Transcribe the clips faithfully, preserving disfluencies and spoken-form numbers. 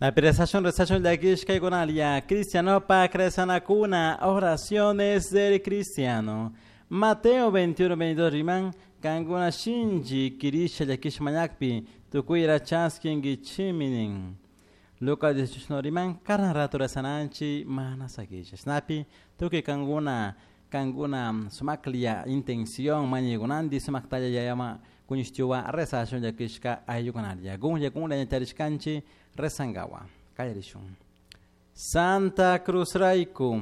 Rezashun, rezashun llakishkaykunalia cristianopak rezanakuna oraciones del cristiano. Mateo veintiuno veintidós riman kankuna shinchi kirisha llakisha mañakpi tukuyra chaskinkichimi nin. Lucas dieciocho riman karan rato rezananchi mana sakisha. Shinapi tukuy kankuna kankuna sumaklia intención mañaykunanti sumaktalla yayama kuñishtiwa rezashun llakishka ayllukunalia. Gunlla gunlla ñacharishkanchi rezangawa. Kallarishun. Santa Cruz rayku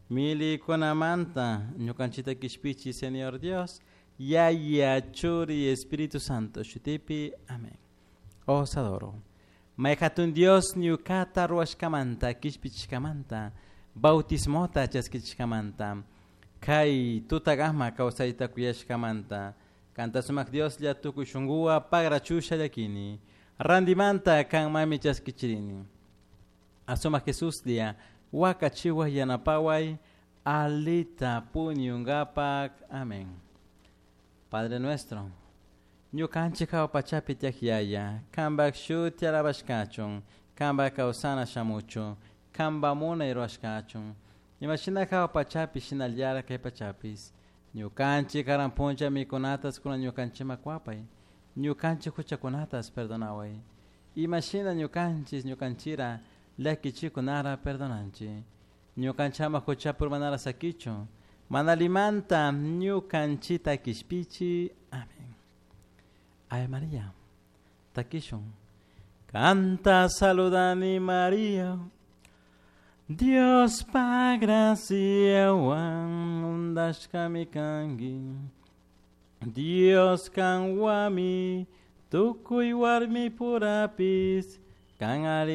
milikunamanta ñukanchita kishpichi Señor Dios, Yaya, Churi, Espíritu Santo, shutipi. Amén. Os adoro. Mayhatun Dios ñukata ruwashkamanta, kishpichishkamanta, bautismota chaskichishkamanta, kay tutagama kawsayta kuyashkamanta, kanta sumak Dioslla tukuy shunkuwa pagrachusha llakini, randimanta kanmami chaskichirini. Asumak Jesuslla wakachiwa yanapaway alita puñungapak. Amén. Padre nuestro, ñukanchik hawa pachapi tiyak yaya, kanpak shuti alabashkachun, kanpak kawsana shamuchun, kanpak munay rurashkachun, imashina hawa pachapi shinallara kay pachapis, ñukanchik karan puncha mikunatas kunan ñukanchikman kuwapay, ñukanchik huchakunatas perdonaway, imashina ñukanchis ñukanchira llakichikunara perdonanchik, ñukanchama huchapi urmanara sakichun, manalimanta ñukanchita kishpichi. Amén. Ave María, takishun. Canta saludani María, Dios pa graciawan undashkami kanki, Dios kanwami tukuy warmi purapis kan ari